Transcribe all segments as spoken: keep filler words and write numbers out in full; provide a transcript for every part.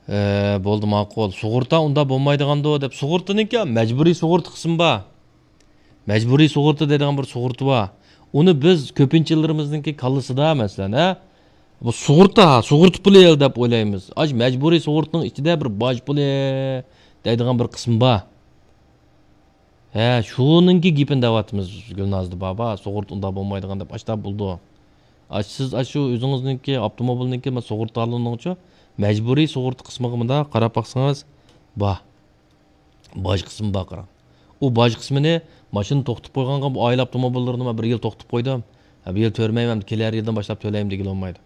ئە، بولدى، ماقۇل. سۇغۇرتا ئۇنداق بولمايدىغاندۇ دەپ، سۇغۇرتىنىڭكى مەجبۇرىي سۇغۇرتا قىسمى بار. مەجبۇرىي سۇغۇرتا دەيدىغان بىر سۇغۇرتا بار. ئۇنى بىز كۆپىنچىلىرىمىزنىڭكى كاللىسىدا، مەسىلەن، ھە، بۇ سۇغۇرتا، سۇغۇرتا پۇلى دەپ ئويلايمىز. ئاش-، مەجبۇرىي سۇغۇرتىنىڭ ئىچىدە بىر باج پۇلى دەيدىغان بىر قىسمى بار. ھە، شۇنىڭكى گېپىنى دەۋاتىمىز، گۈلنازدا بابا، سۇغۇرتا ئۇنداق بولمايدىغان دەپ، ئاشتا بولىدۇ. ئاش-، سىز ئاشۇ ئۆزىڭىزنىڭكى، ئاپتوموبىلنىڭكى، مانا، سۇغۇرتا تالونىڭىچۇ، مەجبۇرىي سۇغۇرتا قىسمىغا مۇنداق قاراپ باقسىڭىز، بار. باج قىسمى بار، قاراڭ. ئۇ باج قىسمىنى ماشىنا توختىتىپ قويغانغا، بۇ ئائىلە ئاپتوموبىللىرىنى مەن بىر يىل توختىتىپ قويدۇم. ھە، بۇ يىل تۆلىمەيمەن، كېلەر يىلدىن باشلاپ تۆلەيمەن دېگىلى بولمايدۇ.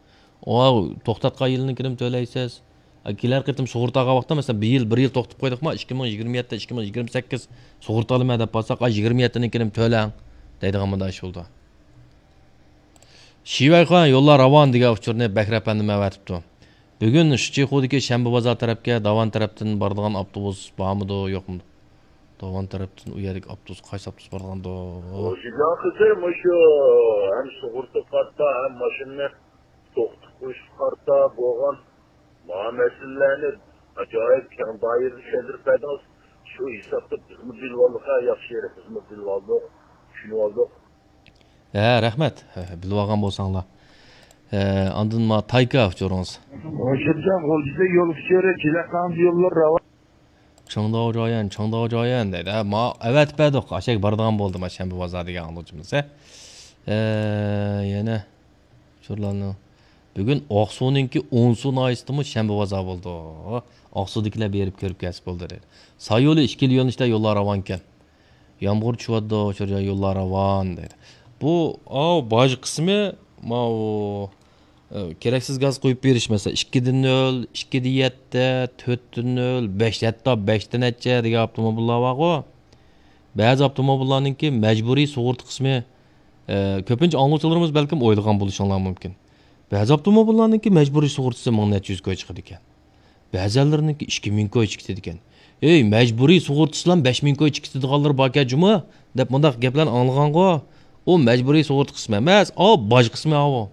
ئۇ توختاتقان يىلىنىڭكىنىمۇ تۆلەيسىز. ھە، كېلەر قېتىم سۇغۇرتا ئالغان ۋاقىتتا، مەسىلەن، بىر يىل، بىر يىل توختىتىپ قويدۇقما، ئىككى مىڭ يىگىرمە يەتتە، ئىككى مىڭ يىگىرمە سەككىز سۇغۇرتا ئالىمەن دەپ بارساق، ئا، يىگىرمە يەتتىنىڭكىنىمۇ تۆلەڭ دەيدىغان مۇنداق ئىش بولىدۇ. شىۋەيخۇەن يوللار راۋان دېگەن ئۇچۇرنى بەكرى ئەپەندىم ئەۋەتىپتۇ. بۈگۈن شىچىخۇدىكى شەنبە بازار تەرەپكە داۋان تەرەپتىن بارىدىغان ئاپتوبۇس بارمىدۇ، يوقمۇ؟ داۋان تەرەپتىن ئۇ يەردىكى ئاپتوبۇس، قايسى ئاپتوبۇس بارىدىغاندۇ؟ خوجىجان قىزى، مۇشۇ ھەم سۇغۇرتا قارتا، ھەم ماشىنىنى توختىتىپ قويۇشقا قارتا بولغان مانا مەسىلىلەرنى ئاجايىپ كەڭ دائىرىدە چۈشەندۈرۈپ بەردىڭىز. شۇ ھېسابتا بىزمۇ بىلىۋالدۇق، ھە، ياخشى يېرى، بىزمۇ بىلىۋالدۇق، چۈشىنىۋالدۇق. ھە، رەھمەت. ھە، بىلىۋالغان بولساڭلار. ھە، ئاندىن ما تايكا ئۇچۇرىڭىز. شىنجاڭ غۇلجىدا يول ئۇچۇرى، جىلەقاڭدا يوللار راۋان. چىڭداۋ جايەن، چىڭداۋ جايەن دەيدۇ. ھە، ما ئەۋەتىپ بەردۇق. ئاشەگە بارىدىغان بولدى، ما شەنبە بازار دېگەن ئاڭلىغۇچىمىز. ھە. ھە، يەنە ئۇچۇرلارنى. بۈگۈن ئاقسۇنىڭكى ئونسۇ ناھىيەسىدىمۇ شەنبە بازار بولىدۇ. ئاقسۇدىكىلەر بېرىپ كۆرۈپ كەلسە بولدى دەيدۇ. سايولى ئىككىلا يۆنىلىشتە يوللار راۋانكەن. يامغۇر چۈشۈۋاتىدۇ، شۇ يوللار راۋان دەيدۇ. بۇ، ئاۋۇ باج قىسمى، ماۋۇ، ئە، كېرەكسىز گاز قويۇپ بېرىش، مەسىلەن، ئىككىدە نۆل، ئىككىدە يەتتە، تۆتتە نۆل، بەش، ھەتتا بەشتە نەچچە دېگەن ئاپتوموبىللار بارغۇ. بەزى ئاپتوموبىللارنىڭكى مەجبۇرىي سۇغۇرتا قىسمى، ئە، كۆپىنچە ئاڭلىغۇچىلىرىمىز بەلكىم ئويلىغان بولۇشۇڭلار مۇمكىن. بەزى ئاپتوموبىللارنىڭكى مەجبۇرىي سۇغۇرتىسى مىڭ نەچچە يۈز كوي چىقىدىكەن. بەزەنلىرىنىڭكى ئىككى مىڭ كوي چىقىدىكەن. ئەي، مەجبۇرىي سۇغۇرتىسىلام بەش مىڭ كوي چىقىدىغانلىرى باركەن جۇمۇ، دەپ مۇنداق گەپلەرنى ئاڭلىغانغۇ. ئۇ مەجبۇرىي سۇغۇرتا قىسمى ئەمەس، ئا، باج قىسمى ئاۋۇ.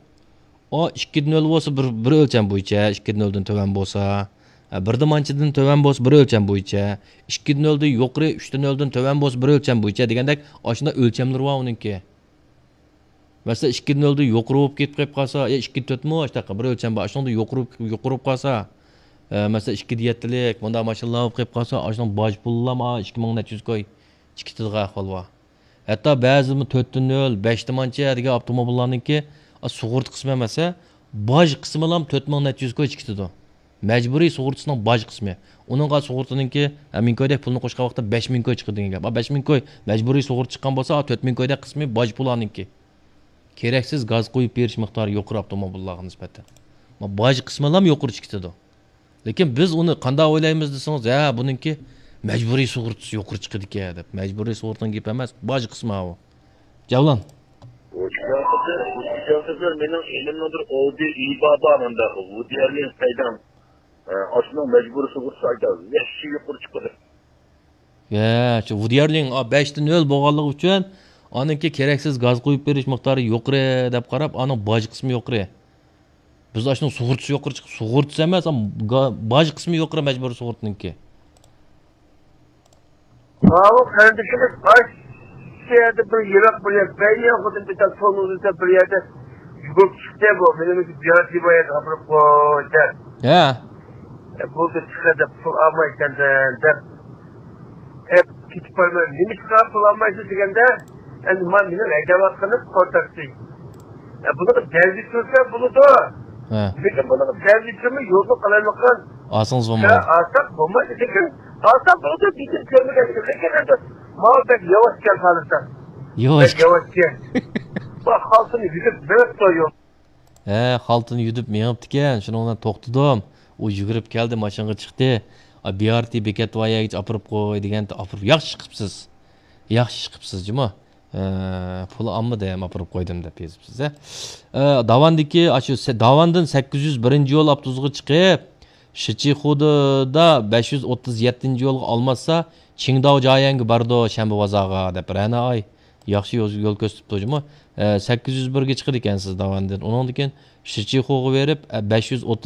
ئا، ئىككىدە نۆل بولسا بىر، بىر ئۆلچەم بويىچە، ئىككىدە نۆلدىن تۆۋەن بولسا، ھە، بىردە مانچىدىن تۆۋەن بولسا بىر ئۆلچەم بويىچە، ئىككىدە نۆلدىن يۇقىرى، ئۈچتە نۆلدىن تۆۋەن بولسا بىر ئۆلچەم بويىچە دېگەندەك، ئاشۇنداق ئۆلچەملىرى بار ئۇنىڭكى. مەسىلەن، ئىككىدە نۆلدىن يۇقىرى بولۇپ كېتىپ قېلىپ قالسا، يا ئىككىدە تۆتمۇ، ئاشۇنداق بىر ئۆلچەم بار، ئاشۇنىڭدىن يۇقىرى، يۇقىرى بولۇپ قالسا، ئە، مەسىلەن، ئىككىدە يەتتىلىك مۇنداق ماشىنىلار بولۇپ قېلىپ قالسا، ئاشۇنىڭ باج پۇلىلام ئىككى مىڭ نەچچە يۈز كوي چىقىدىغان ئەھۋال بار. ھەتتا بەزىدىمۇ تۆتتە نۆل، بەشتە مانچە دېگەن ئاپتوموبىللارنىڭكى، ئا، سۇغۇرتا قىسمى ئەمەس، باج قىسمىلام تۆت مىڭ نەچچە يۈز كوي چىقىدۇ. مەجبۇرىي سۇغۇرتىسىنىڭ باج قىسمى. ئۇنىڭغا سۇغۇرتىنىڭكى، ھە، مىڭ كويدەك پۇلنى قوشقان ۋاقىتتا بەش مىڭ كوي چىقىدۇ دېگەن گەپ. ئا، بەش مىڭ كوي مەجبۇرىي سۇغۇرتا چىققان بولسا، ئا، تۆت مىڭ كويدەك قىسمى باج پۇلىنىڭكى. كېرەكسىز گاز قويۇپ بېرىش مىقدارى يۇقىرى ئاپتوموبىللارغا نىسبەتەن. ما باج قىسمىلام يۇقىرى چىقىدۇ. لېكىن بىز ئۇنى قانداق ئويلايمىز دېسىڭىز، ھە، بۇنىڭكى مەجبۇرىي سۇغۇرتىسى يۇقىرى چىقىدىكەن دەپ. مەجبۇرىي سۇغۇرتىنىڭ گېپى ئەمەس، باج قىسمى ئاۋۇ. جەۋلان. خوجىجان قىزى، خوجىجان قىزى، مېنىڭ ئىنىمنىڭ بىر ئودى ئىي بار، مۇنداق ۋۇدى ئەللىن سەيدام. ئاشۇنىڭ مەجبۇرىي سۇغۇرتىسى ئايدا ۋەھشىي يۇقىرى چىقىدۇ. يا، شۇ ۋۇدى ئەللىن، ئا، بەشتە نۆل بولغانلىقى ئۈچۈن، ئانىڭكى كېرەكسىز گاز قويۇپ بېرىش مىقدارى يۇقىرى دەپ قاراپ، ئانىڭ باج قىسمى يۇقىرى. بىز ئاشۇنىڭ سۇغۇرتىسى يۇقىرى چىقىپ، سۇغۇرتىسى ئەمەس، ئا، گا-، باج قىسمى يۇقىرى مەجبۇرىي سۇغۇرتىنىڭكى. ماۋۇ قېرىندىشىمىز قايسى يەردە بىر يىراق بىر يەر، بەينى خۇددى بىتال تونۇزدا بىر يەردە يۈگۈرۈپ چىقتى بۇ. مېنىڭ بىر يەردە ئاپىرىپ قوي دەپ. ھە. بولدى، چىقە دەپ، پۇل ئالمايسەن دەپ. ئەپ كېتىپ بارىمەن. نېمىشقا پۇل ئالمايسىز دېگەندە، ئەمدى مانا مېنىڭ ھەيدەۋاتقىنىم قورتاكسى. ئە، بۇنىڭغا دەلدە كۆرسە بولىدۇ. ھە. لېكىن بۇنىڭغا دەلدە كۆرمەي يولنى قالايمىقان. ئالسىڭىز بولمايدۇ. ئالساق بولمايدۇ، لېكىن ئالساق بولىدۇ، لېكىن كۆرمىگەن. لېكىن ئەمدى ماۋۇ بەك ياۋاشكەن خالىسا. ياۋاش. بەك ياۋاشكەن. بۇ خالتىنى يۈدۈپ مېڭىپتۇ يول. ھە، خالتىنى يۈدۈپ مېڭىپتىكەن، شۇنىڭ بىلەن توختىدىم. ئۇ يۈگۈرۈپ كەلدى، ماشىنىغا چىقتى. ئا، بىئارتى بېكەت بار يەرگىچە ئاپىرىپ قوي دېگەنتى، ئاپىرىپ، ياخشى ئىش قىپسىز. ياخشى ئىش قىپسىز جۇمۇ. ئە، پۇل ئالمىدىم، ئاپىرىپ قويدۇم دەپ يېزىپسىز، ھە. ئە، داۋاندىكى، ئاشۇ سە-، داۋاندىن سەككىز يۈز بىرىنچى يول ئاپتوبۇسىغا چىقىپ، شىچىخۇدا بەش يۈز ئوتتۇز يەتتىنچى يولغا ئالماشسا، چىڭداۋ جايەنگە بارىدۇ، شەنبە بازارغا، دەپ رەنا ئاي. ياخشى يول، يول كۆرسىتىپتۇ جۇمۇ. ئە، سەككىز يۈز بىرگە چىقىدىكەنسىز داۋاندىن. ئۇنىڭدىن كېيىن شىچىخوغا بېرىپ، ئە، بەش يۈز ئوتتۇز